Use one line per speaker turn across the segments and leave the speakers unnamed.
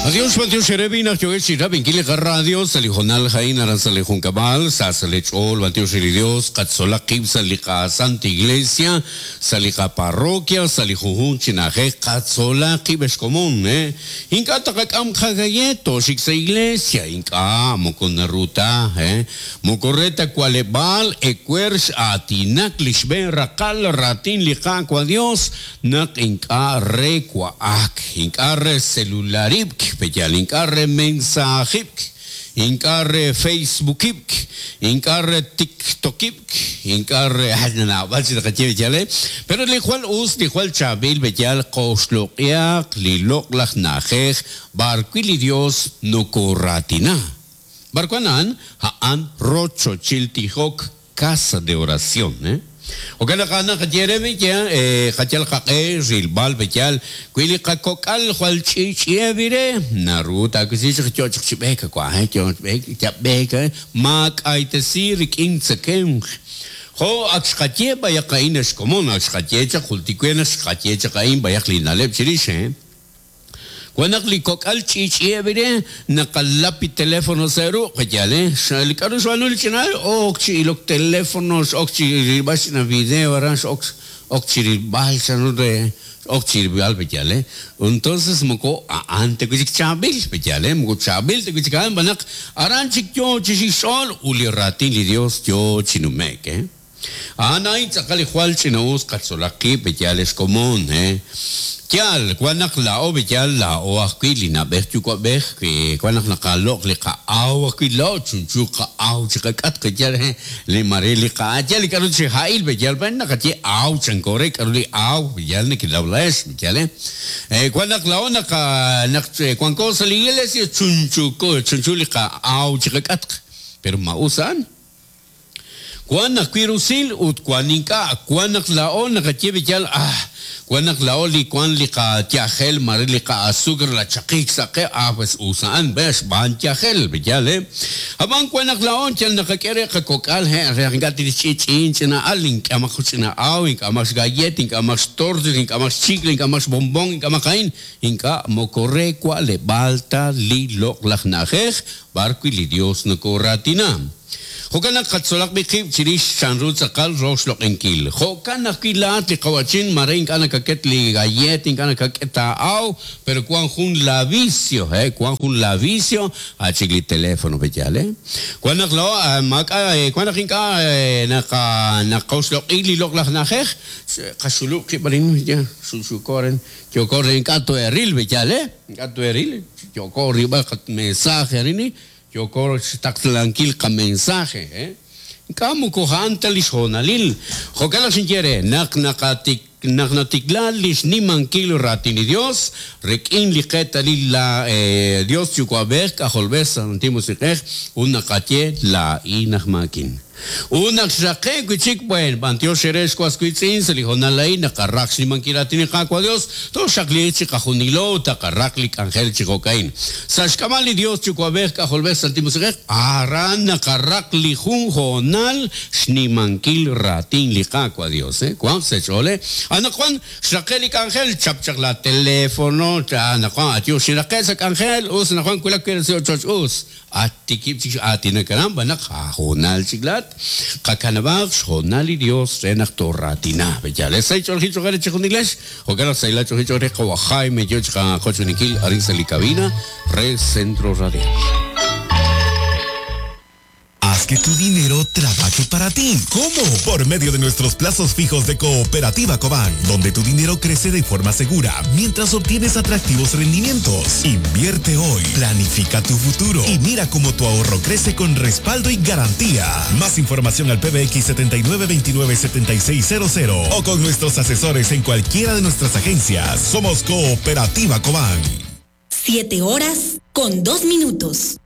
Adiós, bantiox ere naq yookeb' chi rab'inkil li qaradio sa' li hoonal a'in aran sa' li junkab'al, sa' sa' li ch'ool, bantiox re li Dios, qatzolaq qib' sa' li qasanta iglesia, sa' li qaparroquia, sa' li junjunq chi na'ajej, qatzolaq qib' ex komon, eh. Ink'a' taqak'am qagalleta, tooxik sa' iglesia, ink'a', moko naru ta, eh. Moko re ta wa'leb'aal ewer x'aatinak li xb'een raqal raatin li Qaawa' Dios naq ink'a' re wa'ak, ink'a' re celularib'k, peyal ink'a' re mensaajib'k, ink'a' re facebookib'k, ink'a' re tiktokib'k, ink'a' re naab'al chik naqaye peyal eh, pero li jwal us, li jwal chaab'il peyal qoxloq'ihaq li loq'laj na'ajej b'arwi' li Dios nokoraatina. B'ar wan a'an? A'an rochochil tijok, casa de oración, eh. Jo'kan naq a'an naqaye re b'e eh, qayal qaq'e rilb'al b'eyal wi li qakok'al jwal ch'i'ch'i'eb' re, naru taawisi chaq yo chaq chi b'eek wa, eh, yo chi b'eek, yab' b'eek, eh, maak'aytesi rik'in tzekemq. Jo' ak xqaye b'ayaq a'in xkomon, ak xqaye chaq, jultik we naq xqaye chaq a'in b'ayaq li na'leb' chirix, eh. Wan naq li kok'al ch'i'ch'i'eb' re, naqalap li telefono sa' ruq', qayal, eh? Li k'a'ru xb'aanu li ch'ina al, ok chi ilok telefono, x'ok chi rilb'al ch'ina video aran, x'ok ok chi rilb'al chanru re, ok chi rilb'al, peyal, eh? Entonces moko a'an ta wi' chik chaab'il, peyal, eh? Moko chaab'il ta wi' chik a'an, xb'aan naq aran chik yoo chi xik xch'ool ut li raatin li Dios yoo chi nume'k, eh? A'an a'in tz'aqal li jwal ch'ina'us qatzolaq qib' b'eyal ex komon, he. Yaal, wan naq laa'o b'eyal laa'o ajwi' li na'b'ej yuwa'b'ej, wi wan naq naqaloq' li qa'aw ajwi' laa'o chunchu qa'aw chi qak'atq b'eyal, he, li mare li qa'a yaal li k'a'ru chi ha'il b'eyal b'an naqaye aw chanko re k'a'ru li aw b'eyal nekenaw laa'ex b'eyal, he. Wan naq laa'o naqa naq wanko sa' li iglesia chunchuko chunchu li qa'aw chi qak'atq, pero ma us a'an? Wan ajwi' rusil ut wan ink'a'. Wan naq laa'o naqaye b'eyal, Ah, wan naq laa'o li wan li qayajel mare li qa'azukar nachaqik sa' qe, ah, pues us a'an, ve, xb'aan yajel, b'eyal, eh. Ab'an wan naq laa'o yal naqak'e re qakok'al, he, re naq ink'a' tixch'i'ch'i'in ch'ina al, ink'amaq jun ch'ina aw, ink'amaq xgallet, ink'amaq xtortas, ink'amaq xchicle, ink'amaq xbonbon, ink'amaq a'in, ink'a' moko re wa'leb'aal ta li loq'laj na'ajej b'ar wi' li Dios nokoraatina. Jo'kan naq qatzolaq b'i' qib' chirix chanru tz'aqal roxloq'inkil. Jo'kan ajwi' laa'at li qawa'chin maare ink'a' nakaket li galleet, ink'a' nakak'e taa'aw, pero wan jun la vicio, he, wan jun la vicio, a' chik li teléfono pe'yaal, he. Wan naq laa'o maak'a' wan naq ink'a' naqa naqoxloq'i li loq'laj na'ajej, qaxulub' qib' arin, ya, xulxuuko arin, yooko re ink'a' too'eril pe'yaal, he, ink'a' too'eril, yooko rilb'al qamensaje arin, Yooko xtaqlankil qamensaje, eh? Ink'a' moko a'an ta li xhoonalil. Jo'kan naq xinye re, naq naqatik, naq natikla li xnimankil raatin li Dios, rik'in li qeetalil la, Dios Yuwa'b'ej, K'ajolb'ej, Santil Musiq'ej, ut naqaye, Laa'in aj maakin. Ut naq xraqe'k wi' chik, b'een, b'antiox eere ex was wiitz'in, sa' li hoonal a'in naqaraq xnimankil raatin li Qaawa' Dios, tooxaqliiq chiqajunilo ut taqaraq li k'anjel chi jo'ka'in. Sa' xk'ab'a' li Dios Yuwa'b'ej, K'ajolb'ej, Santil Musiq'ej, aran naqaraq li jun hoonal xnimankil raatin li Qaawa' Dios. Wanq sa' eech'ool, Anaqwan xraqe' li k'anjel, chap chaq laa telefono, anaqwan ayu, xinraqe' sa' k'anjel, us, anaqwan wulak we sa' ochoch, us. At tikib' chik aatinak aran b'an naq aahoonal chik laa'at. Qakanab'aq xhoonal li Dios re naq tooraatina. Pe'yaal? Sahil ch'oolejil cho'q eere chejunilex. Jo'kan naq sahilal ch'oolejil cho'q re qawa' Jaime yo chi qaqochb'eeninkil arin sa' li cabina re Centro Radial.
Haz que tu dinero trabaje para ti. ¿Cómo? Por medio de nuestros plazos fijos de Cooperativa Cobán, donde tu dinero crece de forma segura mientras obtienes atractivos rendimientos. Invierte hoy, planifica tu futuro y mira cómo tu ahorro crece con respaldo y garantía. Más información al PBX 7929-7600 o con nuestros asesores en cualquiera de nuestras agencias. Somos Cooperativa Cobán.
7 horas con 2 minutos.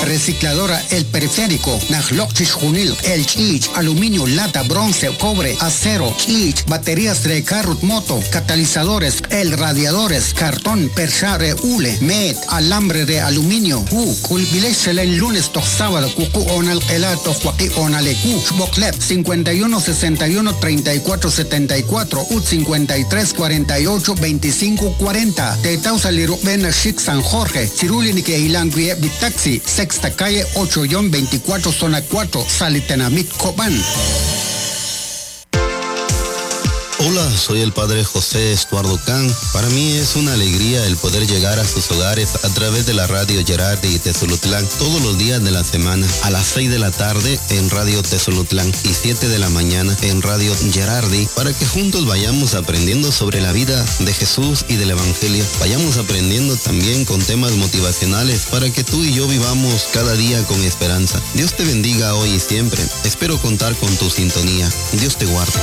Recicladora El Periférico, Najloq Chixjunil, El Chich, Aluminio, Lata, Bronce, Cobre, Acero, Chich, Baterías de carro, moto, Catalizadores, El Radiadores, Cartón, Percha, Hule, Met, Alambre de Aluminio, U, Kulbilesh, el lunes, toch sábado, Cucu, Onal, Elato, Joaquí, Onalecu, Boklep, 51 61 34 74, UT 53 48 25 40. Tetausa Lirubena Chic San Jorge, Chiruli Nike Ilanguie Bitaxi, Sexta Calle 8-24, Zona 4, Salitenamit, Cobán.
Hola, soy el padre José Estuardo Can. Para mí es una alegría el poder llegar a sus hogares a través de la radio Gerardi y Tezulutlán todos los días de la semana a las 6 de la tarde en Radio Tezulutlán y 7 de la mañana en Radio Gerardi para que juntos vayamos aprendiendo sobre la vida de Jesús y del Evangelio. Vayamos aprendiendo también con temas motivacionales para que tú y yo vivamos cada día con esperanza. Dios te bendiga hoy y siempre. Espero contar con tu sintonía. Dios te guarde.